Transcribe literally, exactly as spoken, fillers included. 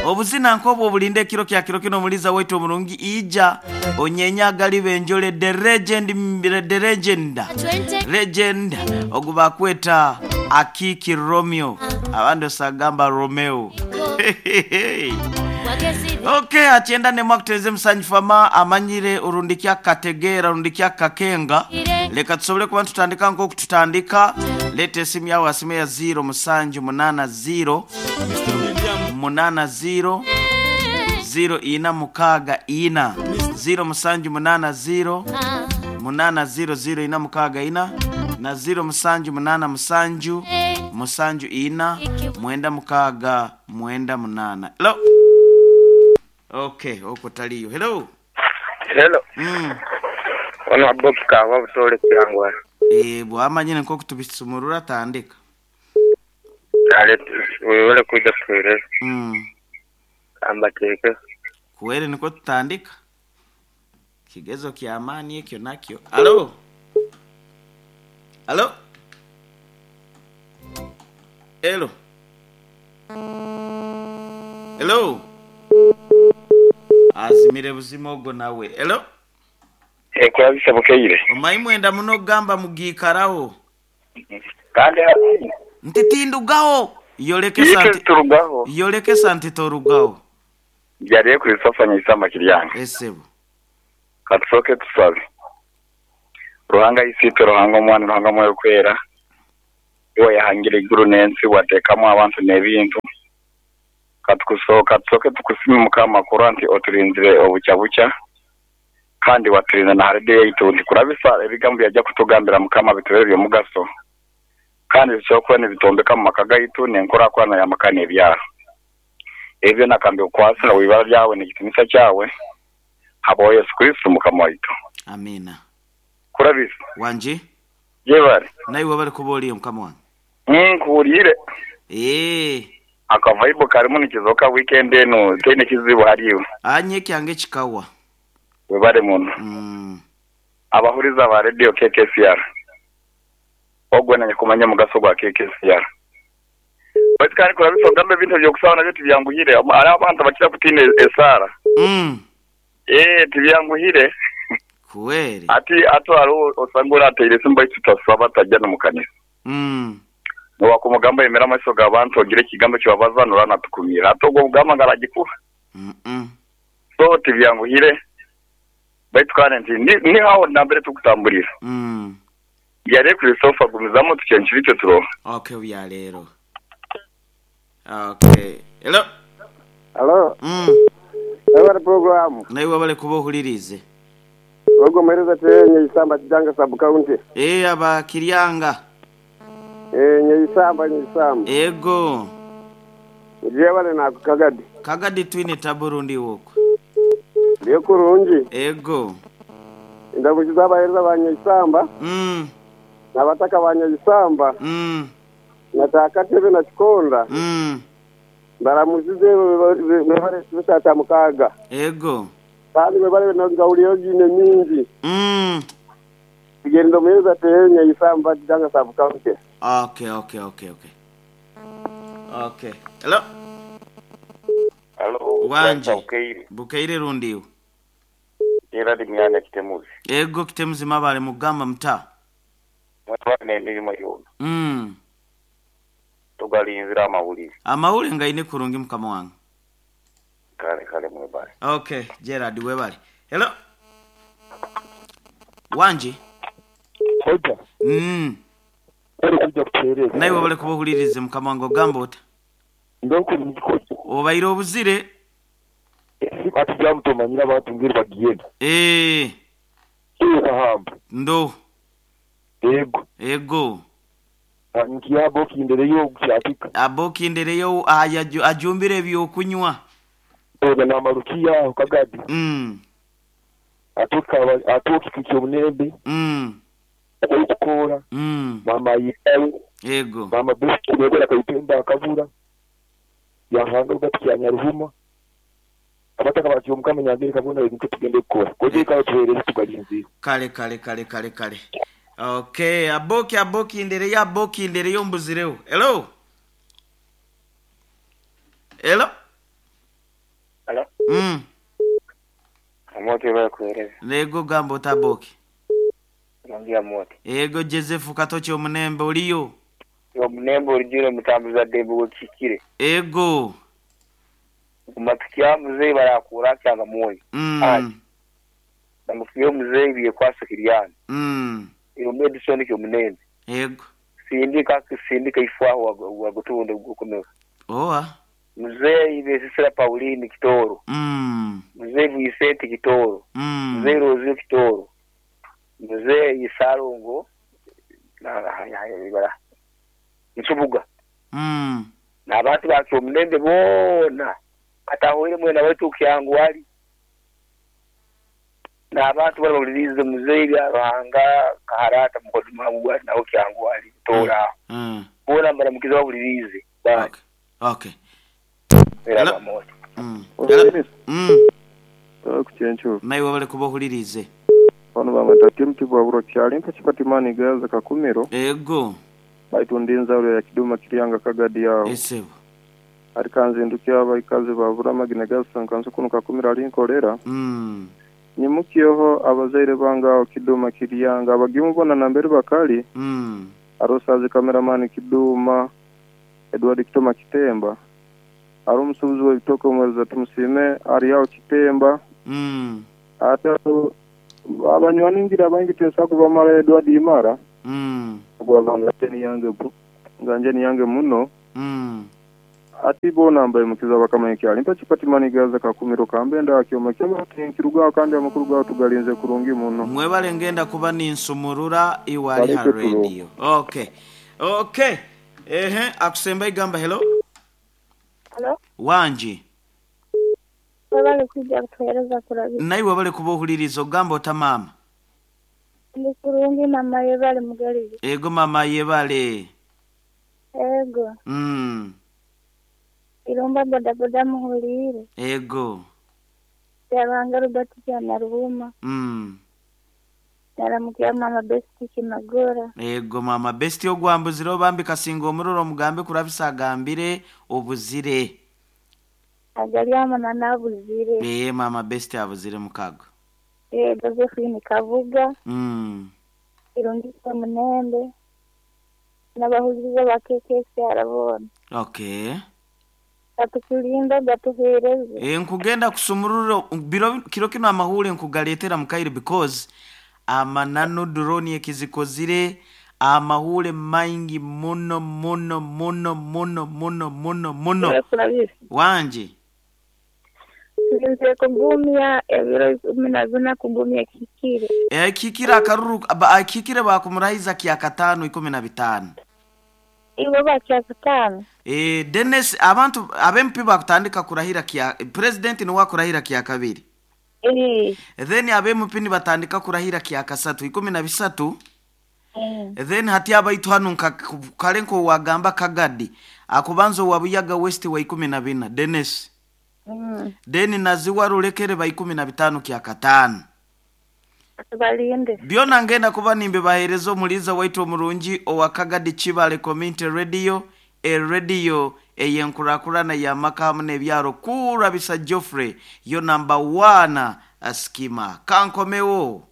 Obuzina nkobwo obulinde ekiro kya kiro kino omuliza waitu omurungi ija onyenyagali benjole the legend, the legend legend ogubakweta Akiki Romeo, abandi osagamba Romeo. Okay, akyenda ne mwakuteze musanyifu ama amanyire urundikia kategera urundikia kakenga. Leka tusobole kuba tutandika nko kututandika. Lete esimu yawe asime ya zero musanju munana zero munana zero zero ina mukaga ina zero musanju munana zero munana zero zero ina mukaga ina na zero musanju munana musanju musanju ina mwenda mukaga mwenda munana. Hello. Okay, oko taliyo. Hello. Hello. Mm. Ono aboki kawa butole kyangwa. Eh, bwamanyine nko kutubisumurura tandika. Ale wewe kuja kwere. Mm. Amba keke. Kwere niko tutandika. Kigezo kya amani ekyo nakyo. Hello. Hello. Hello. Hello. Azimire buzima ogwo nawe. Hello. Eh, kurabisa bukeire. Omayi mwenda muno gamba mugikaraho. Kandi nti tindugaho. Yoleke santi. Turugaho. Yoleke santi torugaho. Yariye kurisofanya isamba kiryanga. Esebo. Katusoke tusabe. Ruhanga isitwe, Ruhanga omwana, Ruhanga mwoyo kwera. Iwe yahangira iguru n'ensi wateekamu abantu n'ebintu. Katukusoka tusoke tukusime Mukama kurwa nti oturinzire obucya bucya kandi waturinze na haride yaitu nti kurabisa ebigambo byajja kutugambira Mukama bitubere by'omugaso kandi bisobola nibitombeka mu maka gaitu n'enkulaakulana y'amaka n'ebyaro. Ebyo nakambi okwasira wibara ryawe n'ekitinisa kyawe habo Yesu Kristo Mukama waitu. Amina. Kurabisa wanje yebare naiwe bari kuboliye Mukama wange nkuwulire eh akavaibo karimu nikizoka weekend eno tene kizibu hariyo anye kyange kikawa webare muno. Mm. Abahuriza ba radio K K C R ogwe nanye kumanya mugaso gwa K K C R bati kandi kurabisa gambe bintu byokusaba nabyo tibyanguhire ari abantu bakira kutina esara. Mm. Eh tibyanguhire kweli ati ato aro osangura ateire simba tutasaba tajya no mukanisa. Mm. Wakumugamba yemera amaso gabantu ogire kigambo cyabazanura natukumira atogo mugamba ngaragikura. Mm -mm. So tibyanguhire baitu kandi nti ni, ni hawo nambere tukutambulira. Mm. Yare Christopher gumizamo tucyenshiricyo turo. Okay, uya lero. Okay. Hello. Hello. Mm. Hello program. Naiwe bale kubohulirize. Ogo mereza tenye isamba kijanga sub county. Eh aba Kiryanga. Eh nyisamba nyisamba. Ego. Ngiye bale na Kagadi. Kagadi twine taburundi woko. Ndiyo kurungi. Ego. Ndabukiza abahereza banyisamba. Mm. Nabataka banyisamba. Mm. Nataka tebe na kikonda. Mm. Baramuzize bebare bisata mukaga. Ego. Kandi bebare na ngauliyo gine mingi. Mm. Tugenda muhereza tenye isamba kijanga sub county. Okay, okay, okay, okay. Okay. Hello. Hello. Wanje. Bukeire. Bukeire rundiwe. Era dimyanya kitemuzi. Ego kitemuzi mabale mugamba mta. Mwana emirimo yona. Mm. Tugalinzira amawulire. Amawulire ngaine kurungi mukama wange. Kale kale mwebale. Okay, Gerard webale. Hello. Wanje. Hoja. Mm. Naiwe bale kubohulirize mukama wange ogamba ota. Obaire obuzire. Ati mutomanyira abantu ngeri bagiyenda. Eh. Ahamba. Ndo. Ego. Ego. Nkiyabo kindereyo kukyapika. Abo kindereyo ajumbire ebyokunywa. Oga namarukiya Kagadi. Mm. Atuka atuki kikyomunembe. Mm. Okukora. Mm. Mama yiwe. Ego. Mama bisi yegora kayipemba akavura. Yahanga ugatikya Nyaruhuma. Abataka batyo mukama nyangere kabona ebintu tugende kukora. Koje kawo tuhereze tugalinzira. Kale kale kale kale kale. Okay, aboki aboki indere ya aboki indere yombuzireho. Hello. Hello. Mm. Amoto bakuhereza. Lego gambo taboki. Nongea moto. Ego Joseph Katoche omunembe oliyo. Yo munembe olijire mutambuza dembe wekikire. Ego. Kumatukia mzee barakura cyanga moyo. Mm. Namukiye mzee byekwasa kiryana. Mm. Iyo medicine kyo munembe. Ego. Sindika sindika ifwaho wagutunde gukomeza. Oa. Mzee ibesisira Pauline Kitoro. Mm. Mzee Vicente Kitoro. Mm. Mzee Rozio Kitoro. Mzee Isarongo na ibara. Nsubuga. Mm. Na abantu bakyo munembe bona. Atahoire mwena wetu kyangu wali. Na abantu bari babulirize mzee bya Ruhanga kaharata mukoduma bwa nawo kyangu wali tora. Mm. Bona mbaramukiza babulirize. Bye. Okay. Okay. Era Mm. Hello. Mm. Kuchencho. Naiwe bale kubohulirize. Bano bamata mtibwa buro kyalimpa chipatimani gaza kakumiro. Ego. Baitundinza ule ya kiduma kiriyanga kagadi yao. Esebo. Arikanze ndukia abaikazi babura magina gasa nkanso kuno kakumiro alinkolera. Mm. Nyimukiyoho abazaire bangao kiduma kiriyanga abagimubona nambere bakali. Mm. Arosazi cameraman kiduma Edward Kitoma Kitemba. Ari umusubizi w'ibitoko umweza tumusime ari yaho Kitemba. Mm. Ate abanywani ngira bangi tensa kuva mara Edward Imara. Mm. Gwabanga ni yange bu. Nganje ni yange muno. Mm. Ati bona mbaye mukiza bakamanye kyali mpa chipatimani gaza kakumiro kambenda akyoma kyoma nkiruga kandi amakuru gawo tugalinze kurungi muno. Mwebale ngenda kuba ninsumurura iwali ha radio. Okay. Okay. Ehe akusemba igamba hello. Hello. Wanji. Wabale kujja kutuhereza kurabi. Naiwe wabale kubohuliriza ogamba ota mama. Ndi kurungi mama yebale mugalire. Ego mama yebale. Ego. Mm. Iromba boda boda muhulire. Ego. Yabanga Robert cyana rubuma. Mm. Naramukia mama besti kimagora. Ego mama besti ogwambuzire obambi kasinga omururo mugambe kurabisa gambire obuzire. Agali amana nabuzire. Eh mama besti abuzire mukago. Eh Josephine Kavuga. Mm. Irungika munembe. Nabahuziza bakekese arabona. Okay. Atukulinda gatuhereze. Eh nkugenda kusumururo biro kiro kino amahule nkugaletera mukairi because amanano drone ekizikozire amahule maingi muno muno muno muno muno muno muno. Wanje. Nze kugumya ebiro ikumi na kugumya kikire. Eh kikira akaruru kikire bakumurahiza kya katano ikumi na bitano. Iwe bakya katano. Eh Dennis abantu abempi bakutandika kurahira kya president ni wakurahira kya kabiri. Eh. Then abempi ni batandika kurahira kya kasatu ikumi na bisatu. Mm. Then hati abaitu hanu kalenko wagamba kagadi akubanzo wabuyaga west wa ikumi na bina Dennis. Mm. Then naziwa rulekere ba ikumi na bitano kya katano. Balinde. Byona ngenda kuba nimbe baherezo muliza waitu omurungi owa Kagadi Chibale Community Radio e radio eyenkurakurana ya makamu n'ebyaro kurabisa Geoffrey yo number one askima kankomewo.